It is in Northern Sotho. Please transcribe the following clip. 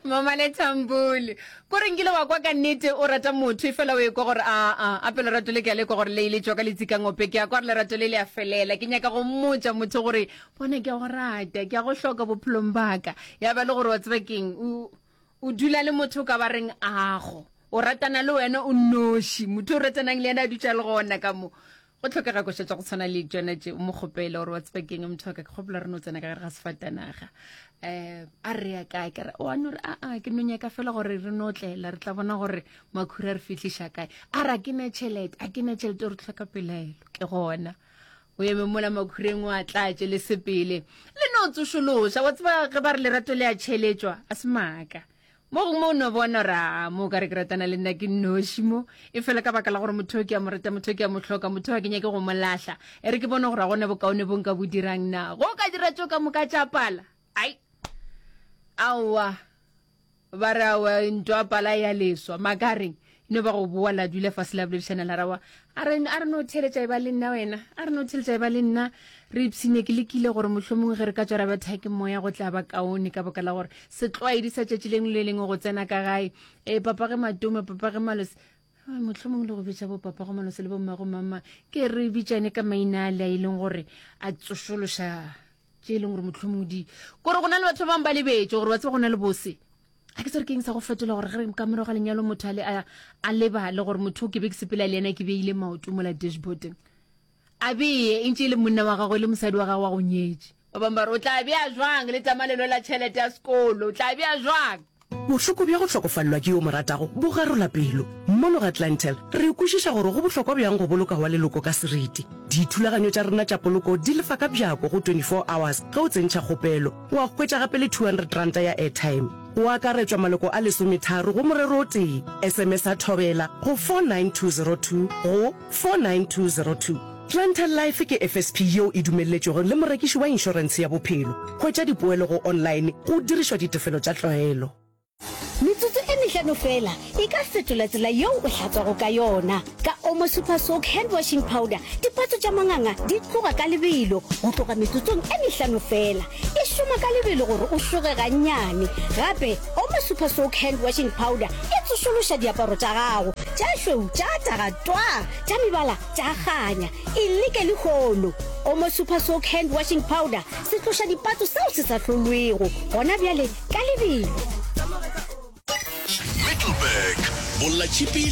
Mama le Thambule. Ko re nkile wa kwa ka nnete o rata motho e fela o ekwa gore a a ape lerato le ke a le kwa gore le ile tšwa ka letsikangope ke a kwa gore lerato le le a felela ke nyaka go mmotša motho gore bona ke a go rata ke a go hloka bophelong baka ya ba le gore wa tseba keng o o dula le motho o ka ba reng ago o ratana le wena o nnoši motho o ratanang le yena a dutša le gona ka mo Go hlokega koša tša go tshwana le tšona tše, o mo kgopele gore wa tseba keng motho wa ka, ke kgopela re no tsena ka gare ga sefatanaga. Um a re ya kae? Ka re wa no re aa ke no nyaka fela gore re no tlela re tla bona gore makhura re fihliša kae. A re a ke na tšhelete, a ke na tšhelete o re tlhoka pelaelo. Ke gona o eme mola makhureng o a tlatše le sepele le no tsošološa wa tseba ge ba re lerato le a tšheletšwa a se maaka. Mo gongwe o no bona gore a mo ka re ke ratana le nna ke nnoši mo e fela ka baka la gore motho ke a mo rata motho ke a mo hloka motho ga ke nyake go mo lahla e re ke bone gore a gona bokaone bo nka bo dirang na go ka dira tšo ka moka tša pala ai aowa ba re aowa ntwa pala ya leswa makareng no ba go boa la dula fase la boledišana la rawa a re a re no theletša e ba le nna wena a re no theletša e ba le nna re ipshine ke lekile gore mohlomongwe ge re ka tswa ra betha ke moya go tla ba kaone ka baka la gore setlwaedi sa tšatši lengwe le lengwe go tsena ka gae e papa ge matome papa ge malose mohlomongwe le go bitša bo papa go malose le bommago mama ke re bitšane ka maina a le a e leng gore a tsošološa tše e leng gore mohlomongwe di kore go na le batho ba bangwe ba lebetše gore wa tseba go na le bose a ke tsere ke eng sa go fetola gore ge ka morago ga lenyalo motho a le a lebale gore motho o ke be ke sepela le yena ke beile maoto mola dashboarding a beye e ntše e le monna wa gagwe le mosadi wa gagwe wa go nyetše ba bangwe ba re o tla bea jwang le tamalelo la tšhelete ya sekolo o tla bea jwang Bohloko bja go hlokofalelwa ke yo o mo ratago bo garola pelo. Mono ga Clientele, re kwešiša gore go bohlokwa bjang go boloka wa leloko ka seriti. Dithulaganyo tša rena tša poloko di lefa ka bjako go 24 hours ge o tsentšha kgopelo. Wa hwetša gape le R200 ya airtime. Go akaretšwa maloko a lesometharo go morero o tee. SMS-a Thobela go 49202 go 49202. Clientele Life ke FSP yeo e dumelletšwego le morekiši wa inšorentshe ya bophelo. Hwetša dipoelo go online go dirišwa ditefelo tša tlwaelo. Metsotso e mehlano feela e ka fetola tsela yeo o hlatswago ka yona. Ka Omo Super Soak Hand Washing Powder, dipatso tša manganga di tloga ka lebelo go tloga metsotsong e mehlano feela. E šoma ka lebelo gore o šoge gannyane. Gape, Omo Super Soak Hand Washing Powder e tsošološa diaparo tša gago, tša šweu tša taga twaa, tša mebala tša kganya. E leke lehono! Omo Super Soak Hand Washing Powder, setlošadipatso seo se sa hlolwego gona bjale. Ka lebelo. Middelburg, Bollatšhipi.